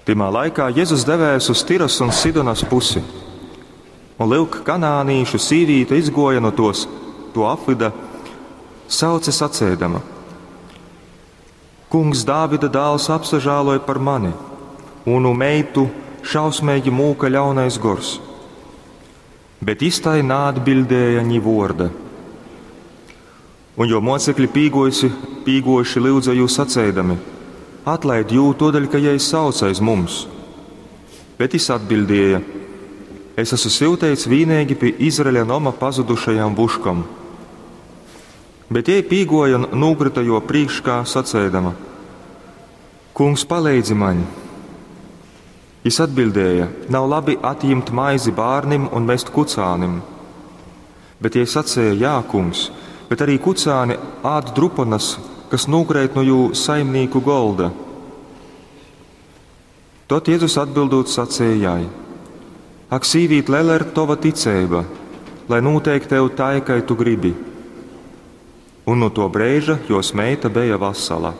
Tymā laikā Jezus devēs uz Tiras un Sidonas pusi. Un lyuk, kanānīšu sīvīte izgōja nu tos, to apvyda, sauce saceidama: Kungs, Dāvida dāls, apsažāloj par mani, munu meitu šausmeigi mūka ļaunais gors. Bet jis tai naatbiļdēja ni vuorda. Un juo muocekļi pīguojusi, pīguojuši lyudza jū saceidami: Atlaid jū, tuodeļ, ka jei sauc aiz mums. Bet jis atbiļdēja: Es esmu syuteits vīneigi pi Izraeļa noma pazudušajām vuškom. Bet jei pīguoja un nūkryta juo prīškā, saceidama: Kungs, paleidzi maņ! Jis atbildēja: Nav labi atjimt maizi bārnim un mest kucānim. Bet jei saceja: Jā, kungs, bet arī kucāni ād druponas, kas nūkreit nu jū saimnīku golda. Tod Jezus atbildūt saceja jai: Ak, sīvīt, lela ir tova ticeiba, lai nūteik tev tai, kai tu gribi. Un nu to breiža jos meita beja vasala.